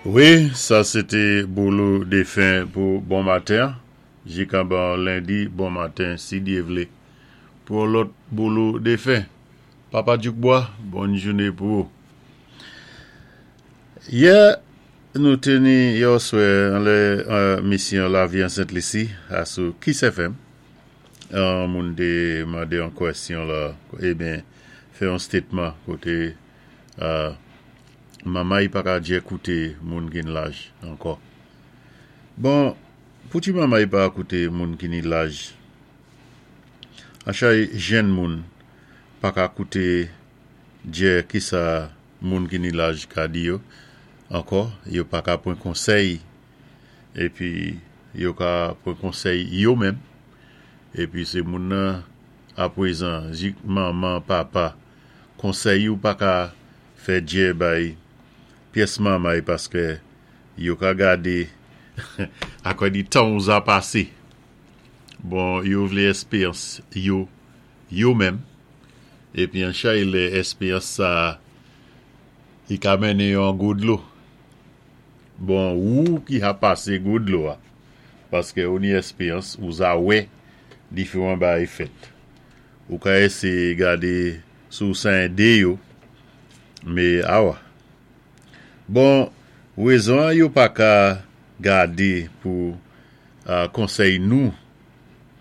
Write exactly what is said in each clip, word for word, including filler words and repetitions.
Wi, sa sété Boulou Défen pou bon maten. Jikanban lendi, bon maten, si Dye vlé. Pou lòt Boulou Défen. Papa Djoukbois, bòn jounen pou ou. Yè, nou té ni yèoswè anlè misyon Lavi an Sent Lisi, asou Kiss F M. An moun té mandé an kwèsyon la, eben, fè an statement koté euh, mamay pa ka djè kouté moun ki ni laj ankò. Bon, pouti mamay pa kouté moun ki ni laj? Anchay jenn moun pa ka kouté djè ki sa moun ki ni laj ka di yo ankò, yo pa ka pran konsèy épi yo ka pran konsèy yo menm. Épi sé moun nan apwézan, jik manman, papa, konsèy yo pa ka fè djè bay pyès mamay paské yo ka gadé akò di tan ou za pasé. Bon, yo vlé èspéyans yo, yo menm. Épi anchay lè èspéyans sa i ka mennen yo an gwo dlo. Bon, ou ki ha pasé gwo dlo a, paské ou ni èspéyans, ou za wè diféwan bagay fèt. Ou ka éséyé gadé sou sa édé yo, mé awa. Bon, wézon yo pa ka gadé pou uh, konsèy nou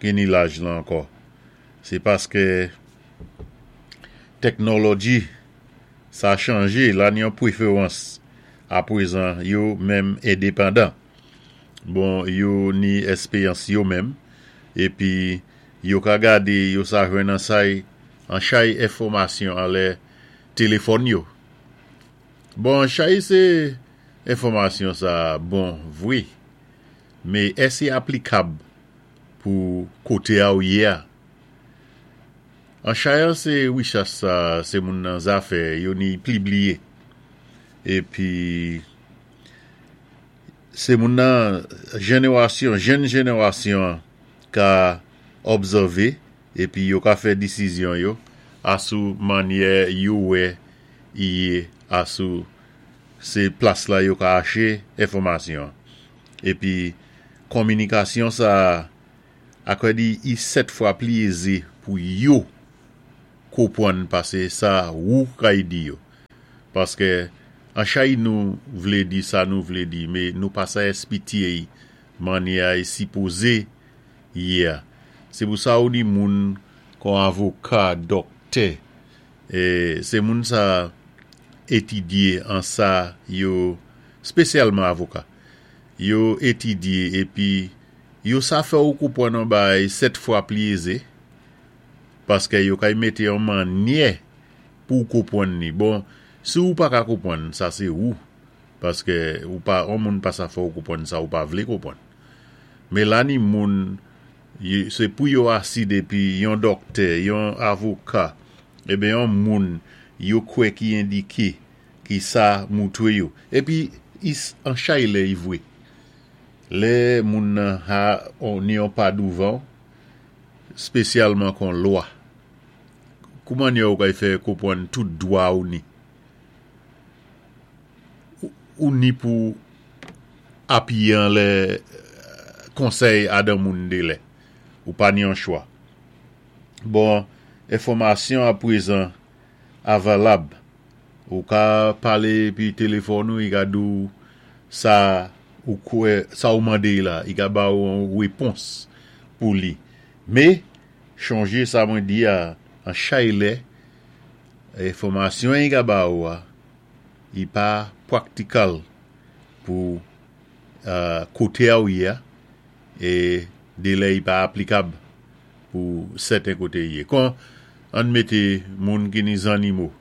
ki ni laj la ankò. Sé paské teknolòji sa chanjé, la ni an pwéférans apwézan yo menm endepandan. Bon, yo ni èspéyans yo menm, épi yo ka gadé, yo sa jwenn an say, an chay enfòmasyon anlè téléfòn yo. Bon, chay sé enfòmasyon sa bon vwé, mé èsi aplikab pou koté a ou yé a? An chay an sé wichas sa, sé moun nan zafè, yo ni pli bliyé. Épi, sé moun nan jénéwasyon, jenn jénéwasyon ka obsèvé, épi yo ka fè disizyon yo, asou mannyè yo wè i yé asou sé plas la yo ka aché enfòmasyon. Épi, konminikasyon sa, akwè di i sèt fwa pli ézé pou yo konpwann pasé sa ou kay di yo. Paské an chay nou vlé di sa nou vlé di, mé nou pa sa èspitye mannyè a i sipozé yé a. Sé pou sa ou ni moun kon avoka, dòktè, é, sé moun sa étidyé an sa yo, spésyalman avoka, yo étidyé épi yo sa fè ou konpwann an bagay sèt fwa pli ézé, paské yo kay mété an mannyè pou konpwann ni. Bon, si ou pa ka konpwann, sa sé ou, paské ou pa, an moun pa sa fè ou konpwann sa ou pa vlé konpwann. Mé la ni moun, sé pou yo asi dépi yon dòktè, yon avoka, eben yon moun yo kwè ki endiké ki sa moutwé yo. Épi, is an chay lè i vwé. Lè moun nan ha on, ni yon pa douvan, spésyalman kon lwa. Kouman yo kay fè konpwann tout dwa ou ni? Ou, ou ni pou apiyé an lè konsèy adan moun dé lè. Ou pa ni an chwa. Bon, enfòmasyon apwézan avalab. Ou ka palé pi téléfòn ou, i ka di ou sa ou kwè, sa ou mandé la, i ka ba ou an wépons pou li. Mé, chonjé sa mwen di a, an chay lè, enfòmasyon i ka ba ou a, i pa pwaktikal pou uh, koté a ou yé a, é dé lè i pa aplikab pou sèten koté yé. Kon an mété moun ki ni zannimo,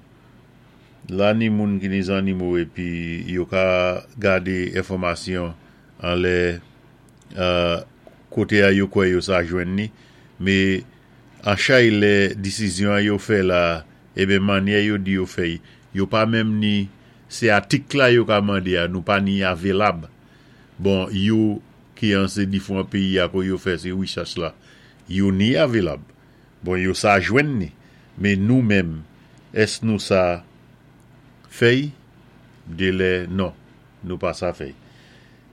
la ni moun ki ni zannimo épi yo ka gadé enfòmasyon an lè uh, koté a yo kwè yo sa jwenn ni, mé an chay lè disizyon yo fè la, eben mannyè yo di yo fè, yo pa menm ni, sé atik la yo ka mandé a, nou pa ni avelab. Bon, yo ki an sé difwan péyi a ko yo fè sé wichach la, yo ni avelab. Bon, yo sa jwenn ni, mé nou menm, ès nou sa fèy? Dé lè non. Nou pa sa fè.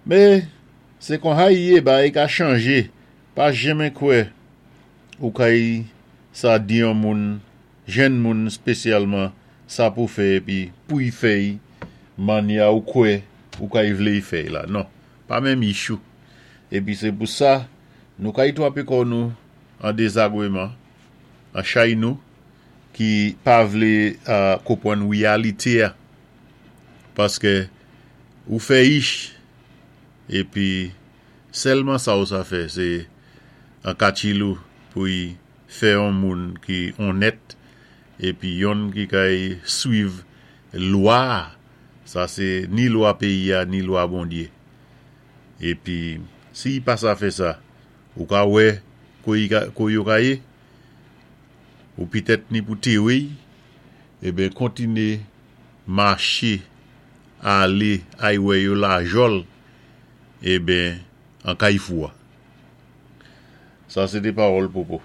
Mé, sé kon sa i yé, bagay ka chanjé. Pa jenmen kwè ou kay sa di yon moun, jenn moun spésyalman, sa pou fè épi pou y fè mannyè ou kwè ou kay vlé y fè la. Non, pa menm ichou. Épi sé pou sa, nou kay twapé kò nou an dézagwéman, an chay nou, ki pa vlé uh, konpwann wéyalité a. Paské ou fè ich, épi sèlman sa ou sa fè, sé an katchilou pou y fè yon moun ki onnèt, épi yonn ki kay swiv lwa, sa sé ni lwa péyi a, ni lwa Bondyé. Épi, si pa sa fè sa, ou ka wè ko yo ka yé, ou pitèt ni pou téwé, eben kontiné maché, alé, ay wè yo la jòl, eben, an kay fou a. Sa sé té pawòl Popo.